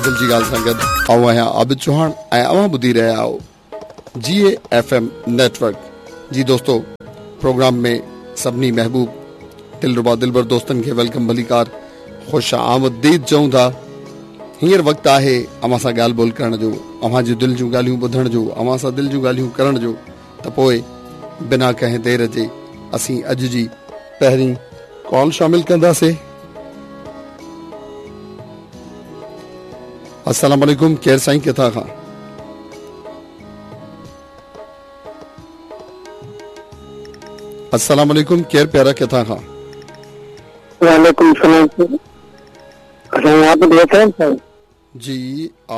دل جي ڳالهه سان گڏ آئون آهيان عابد چوهاڻ ۽ اوهان ٻڌي رهيا آهيو جي اي ايف ايم نيٽورڪ. جي دوستو پروگرام ۾ سڀني محبوب دلربا دلبر دوستن کي welcome ڀليڪار خوش آمديد چئون ٿا. هينئر وقت آهي اوهان سان ڳالهه ٻولهه ڪرڻ جو، اوهان جون دل جون ڳالهيون ٻڌڻ جو، اوهان سان دل جون ڳالهيون ڪرڻ جو ته پوء بنا ڪنهن دير جي اسين اڄ جي پهرين ڪال شامل ڪنداسي. السلام عليڪم ڪير سائين ڪٿان کان؟ السلام عليڪم ڪير پيارا ڪٿان کان؟ وعليڪم السلام سائين عابد حسين سائين. جي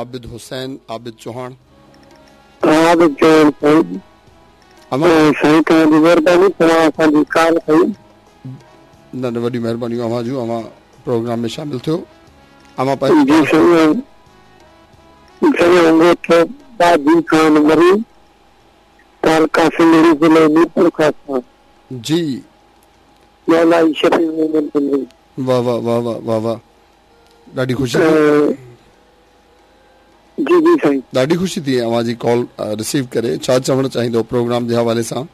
عابد حسين عابد چوهاڻ. عابد چوهاڻ سائين. سائين توهان جي مهرباني توهان اسان جي ڪال ڪئي. نه نه وڏي مهربانيون اوهان جون اوهان پروگرام ۾ شامل ٿيو اوهان پنهنجي جي سائين سائين ڳوٺ باجي خان مري تعلقه سنڌڙي ضلعي ميرپورخاص کان. جي. مولائي شفيع محمد سنڌي. واه واه واه واه واه واه ڏاڍي خوشي ٿي. جي جي سائين. ڏاڍي خوشي ٿي اوهان جي ڪال رسيو ڪري ڇا چوڻ چاهيندو پروگرام جي حوالي سان.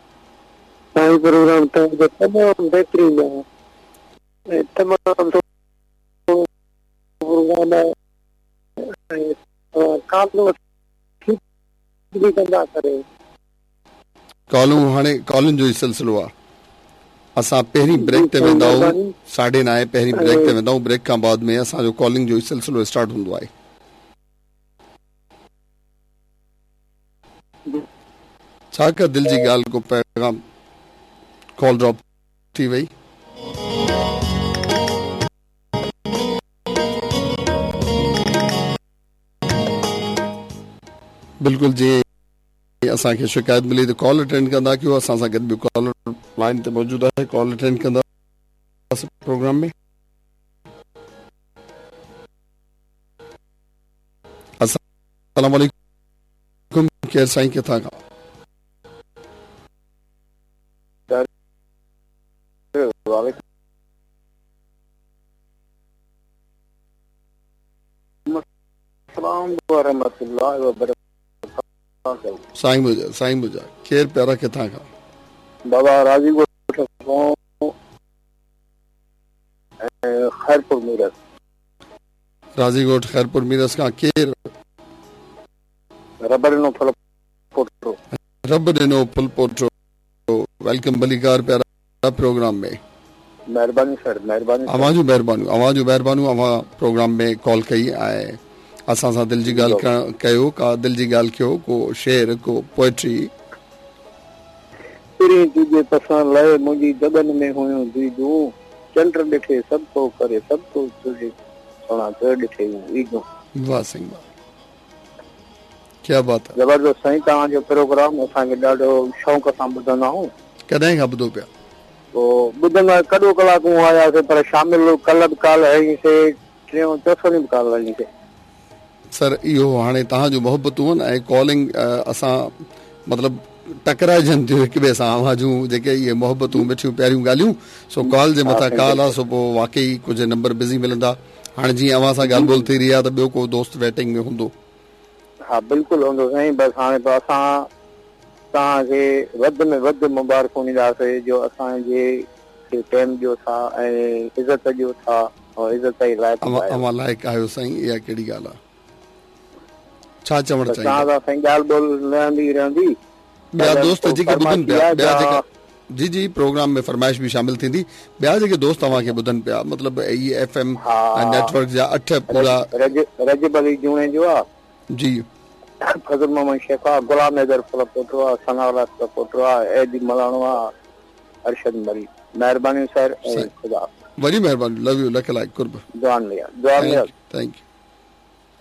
سائين پروگرام توهان جو تمام بهترين آهي ۽ تمام سٺو پروگرام آهي ۽ توهان ڪالون ٺيڪ به ڪندا ڪريو. ڪالون هاڻي ڪالن جو ئي سلسلو آ اسان پهرين بريڪ تي ويندا آهيون ساڍي نائين پهرين بريڪ تي ويندا آهيون بريڪ کان بعد ۾ اسان جو ڪالنگ جو ئي سلسلو اسٽارٽ هوندو آهي. ڇا ڪا دل جي ڳالهه ڪو پيغام ڪال ڊراپ ٿي وئي. بلڪل جيئن اسان کي شڪايت ملي ته ڪال اٽينڊ ڪندا ڪيو اسان سان گڏ ٻيو ڪالر لائن تي موجود آهي ڪال اٽينڊ ڪندا پروگرام ۾. السلام عليڪم ڪير سائين ڪٿان کان. وعليڪم السلام ورحمة الله وبرڪاته. سائين منهنجا سائين منهنجا ڪير پيارا ڪٿان کان. بابا راضي ڳوٺ کان خيرپور ميرس. راضي ڳوٺ خيرپور ميرس کان ڪير؟ رب ڏنو ڦلپوٽو. رب ڏنو ڦلپوٽو welcome ڀليڪار پيارا پروگرام ۾. مهرباني سر مهرباني سر. اوهان جون مهربانيون اوهان جون مهربانيون اوهان پروگرام ۾ ڪال ڪئي ۽ اسان سان دل جي ڳالهه ڪيو ڪا دل جي ڳالهه ڪيو ڪو شعر ڪو پوئٽري. پرين تنهنجي پسڻ لئه منهنجي دٻن ۾ هيون ديدون چنڊ ڏٺي سڀ ڪو ڪري سڀ ڪو چري سهڻا تو ڏٺي هيون عيدون. واه سائين واه ڪيا بات هي. زبردست سائين توهان جو پروگرام اسان کي ڏاڍو شوق سان ٻڌندا آهيون. ڪڏهن کان ٻڌو پيا. پوء ٻڌندا ڪڏو ڪلاڪ هون آياسي پر شامل ڪلهه به ڪال هنئي سي ٽيون چوٿون ڏينهن به ڪال هنئي سي. سر اهو هاڻي توهان جون محبتون آهن ۽ ڪالنگ اسان مطلب ٽڪرائجن ٿيون هڪ ٻئي سان اوهان جون جيڪي اهي محبتون مٺيون پياريون ڳالهيون سو ڪال جي مٿان ڪال آ سو پوء واقعي ڪجهه نمبر بزي ملندا هاڻي جيئن اوهان سان ڳالهه ٻولهه ٿي رهي آ ته ٻيو ڪو دوست ويٽنگ ۾ هوندو. ها بلڪل هوندو سائين بس هاڻي پوء اسان توهان کي وڌ ۾ وڌ مبارڪون ڏينداسي جو اسان جي کي ٽيم ڏيو ٿا ۽ عزت ڏيو ٿا ۽ عزت جي لائق به آهيو. اوهان لائق آهيو سائين اها ڪهڙي ڳالهه آ. ڇا چوڻ چاهيندا. توهان سان سائين ڳالهه ٻولهه رهندي رهندي. ٻيا دوست جيڪي ٻڌن پيا ٻيا جيڪا جي جي پروگرام ۾ فرمائش به شامل ٿيندي ٻيا جيڪي دوست اوهان کي ٻڌن پيا مطلب اي ايف ايم نيٽ ورڪ جا اٺ پورا رجب علي جوڻيجو آ جي فضل محمد شيخ آ غلام حيدر ڦلپوٽو آ ثناء الله ڦلپوٽو آ اي ڊي ملاڻو آ ارشد مري مهرباني سر ۽ خدا وڏي مهرباني لو يو لک لائق قرب دعائن ۾ ياد دعائن ۾ ياد thank you.